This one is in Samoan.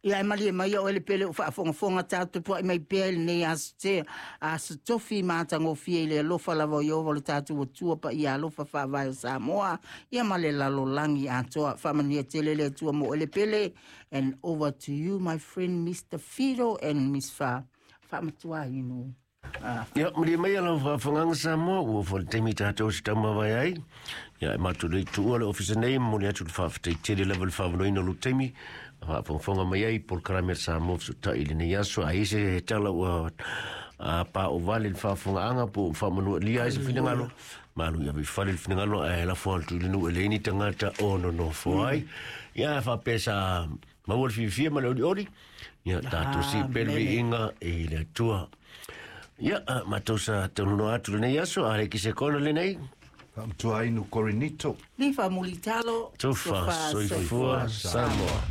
Ia e malie mai o ele pele o faafogafoga tatou puai mai pea i lenei aso te aso tofi matagofie i le alofa lava o Ieova lo tatou Atua paia alofa faavae o Samoa ia ma le lalolagi atoa. Faamanuia tele le Atua mo ele pele. And over to you my friend Mr. Fido and Miss Fa. Faamatuainu. Ia, malie mai lau faafofogaaga Samoa, ua oo foi le taimi tatou se taumavae ai. Ia, e matou le i tuua le ofisa nei, e momoli atu le faafetai tele lava i le faaavanoaina o lou taimi, a faafogafoga mai ai i polokalame a le Samoa Fesootai i lenei aso. A i ai se tala ua paovale i le faafofogaaga po ua faamanualia ai se finagalo, malu ia ave i fale le finagalo ae lafo atu i le nuu e leai ni tagata o nonofo ai. Ia, faapea sa maua le fiafia ma le olioli, ia tatou sii pea le viiga i le Atua. Ia, matou sa taunonoa atu lenei aso, a le ki se kona lenei. Faamatuainu Korinito. Lifa Mulitalo. Tofa, soifua Samoa.